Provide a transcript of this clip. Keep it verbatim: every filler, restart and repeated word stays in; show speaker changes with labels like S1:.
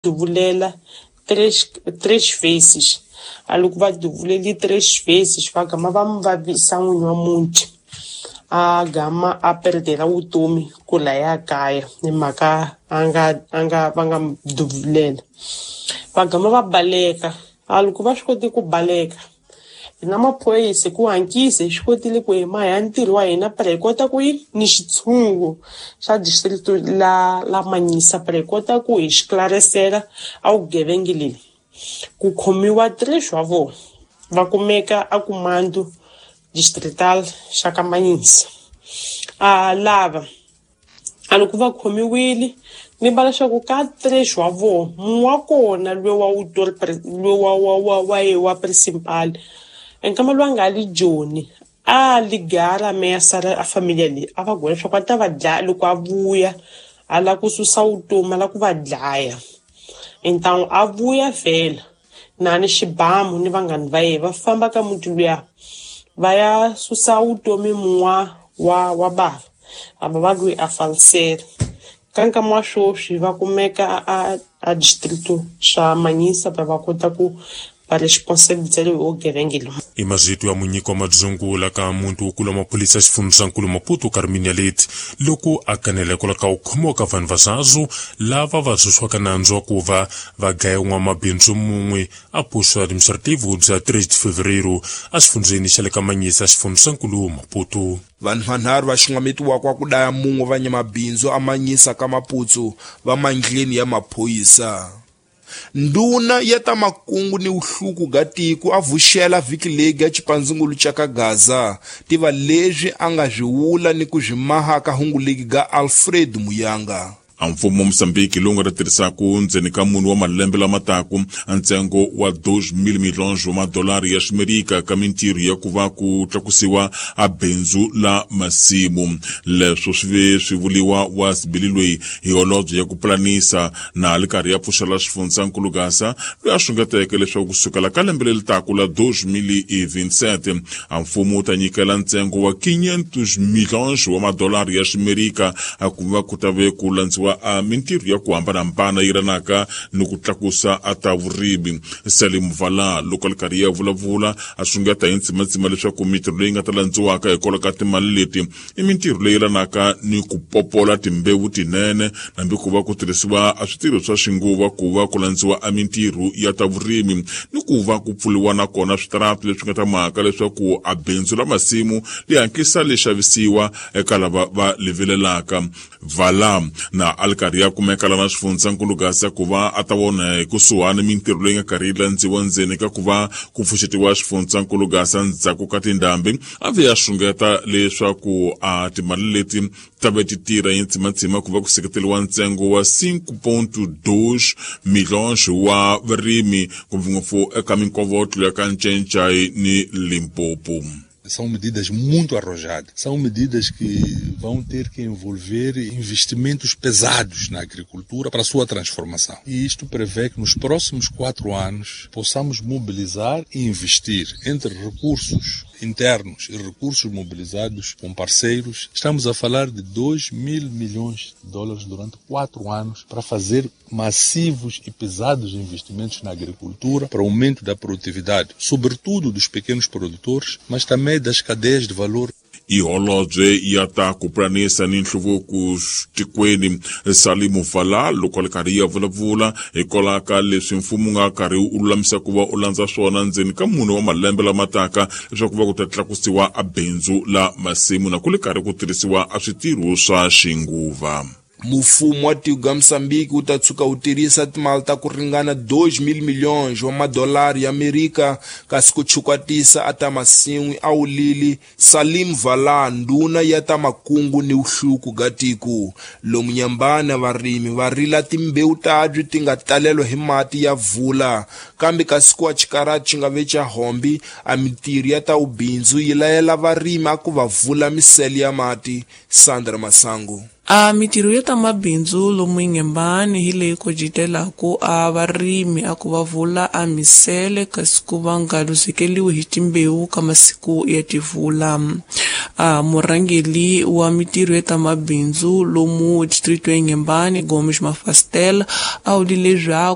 S1: Duvulela três três vezes. A loko va duvuleli três vezes va gama va mi vavisa n'winyi wa muti a gama a perdela vutomi ku laya kaya hi mhaka a nga a nga va nga mi duvulela. Va gama va baleka, a loko va swi koti ku baleka hina maphorisa hi ku hatlisa hi swi kotile ku hi maha ntirho wa hina para hi kota ku yi ni xitshungu xa district la la Manisa para hi kota ku hi xiklarisela a vugevenga leli. Ku khomiwa três wa vona va kumeka a Comando Distrital xa ka Manisa. A lava a loko va khomiwile ni va leswaku ka três wa vona mun'we wa kona loyi wa loyi wa wa wa wa ye wa principal nkama loyi a nga li Joni a ligara ameaçar a família leyi a va byela leswaku a ta va dlaya loko a vuya a lava ku susa vutomi a lava ku va dlaya. Então a vuya vhela na ni xibamu ni vanghani va yena va famba ka muti luya va ya susa vutomi mun'wa wa wa bava a va va loyi a falisela. Ka nkama wa sweswi va kumeka a a distrito xa Manisa va va kota ku va responsabilizela hi vugevenga lowu.
S2: I mazito ya munyiki wa madzungula ka muntu wukulu wa maphorisa xifundzankulu Maputo Carminia Leite loko a kanela hikwalaho ka ku khomiwa ka vanhu va zazu lava va susiwaka nandzu wa ku va va dlaya n'wamabindzu mun'we a posto administrativo bya três de fevereiro exifundzeni xa le ka Manisa xifundzankulu Maputo.
S3: Vanhu vanharhu va xungametiwaka ku daya mun'we va nyamabindzu a Manisa ka Maputo va mandleni ya maphorisa. Nduna ya ta makungu ni vuhluku ga tiko a vuxela vhiki leyi ya xipandzungulu xa ka Gaza tiva leswi a nga swi vula ni ku swi maha ka hungu legi ga Alfred Muyanga.
S4: A mfumo wa Mozambique lowu nga ta tirhisaku ndzeni ka mune wa malembe lama taku ntsengo wa dois mil milhões wa madolari ya Ximerika ka mintirho ya ku va ku tlakusiwa a bindzu la masimu. Leswo swi ve swi vuliwa wa sibili loyi hi holobye ya ku pulanisa na li karhi ya pfuxela xifundzankulu Gaza loyi a xungeteke leswaku kusukela ka lembe leri taku la dois mil e vinte e sete a mfumo wu ta nyikela ntsengo wa quinhentos milhões wa madolari ya Ximerika a ku va ku ta ve ku landziwa a mintirho ya ku hambanahambana yi ranaka ni ku tlakusa a ta vurimi. Salim Vala loko a li karhi ya vulavula a xungeta hi ntsimatsima leswaku mintirho leyi nga ta landziwaka hikwalaho ka timali leti i mintirho leyi ranaka ni ku popola timbewu tinene hambi ku va ku tirhisiwa a switirho swa xinguva ku va ku landziwa a mintirho ya ta vurimi ni ku va ku pfuriwa nakona switarata leswi nga ta mhaka leswaku a bindzu la masimu li hatlisa li xavisiwa eka lava va livilelaka. Vala na a li karhi ya kumeka lana xifundzankulu Gaza ku va a ta vona hi kusuhani mintirho leyi nga karhi yi landziwa ndzeni ka ku va ku pfuxetiwa xifundzankulu Gaza ndzhaku ka tindhambi a ve ya xungeta leswaku a timali leti ta ve ti tirha hi ntsimatsima ku va ku seketeriwa ntsengo wa cinco ponto dois milhões wa varimi ngopfungopfu eka minkovotlo ya ka Ncencai ni Limpopo.
S5: São medidas muito arrojadas, são medidas que vão ter que envolver investimentos pesados na agricultura para a sua transformação. E isto prevê que nos próximos quatro anos possamos mobilizar e investir entre recursos internos e recursos mobilizados com parceiros. Estamos a falar de dois mil milhões de dólares durante quatro anos para fazer massivos e pesados investimentos na agricultura, para o aumento da produtividade, sobretudo dos pequenos produtores, mas também das cadeias de valor.
S4: I holobye ya ta ku pulanisa ni nhluvuko tikweni Salimu Vala loko a li karhi ya vulavula hikwalaho ka leswi mfumo wu nga karhi wu lulamisa ku va u landza swona ndzeni ka mune wa malembe lama taka leswaku va ku ta tlakusiwa a bindzu la masimu na ku li karhi ku tirhisiwa a switirho swa xinguva.
S3: Mfumo wa tiko ya Mozambique wu ta tshuka wu tirhisa timali ta ku ringana dois mil milhões wa madolari ya Amerika kasi ku chukwatisa a ta masin'wi a wulili Salim Vala ndhuna ya ta makungu ni vuhluku ga tiko. Lomu nyambana varimi va rila timbewu tabyi ti nga talelwa hi mati ya vula kambe kasi ku wa xikarati xi nga ve xa hombi a mintirho ya ta vubindzu yi layela varimi a ku va vula misele ya mati. Sandra Masango.
S6: A mintirho ya ta mabindzu lomu Inhambane hi leyi kojitelaku a varimi a ku va vula a misele kasi ku va nga luzekeliwi hi timbewu ka masiku ya tivula. A murhangeli wa mintirho ya ta mabindzu lomu distrito ya Inhambane Gomes Mafastel a wulile leswaku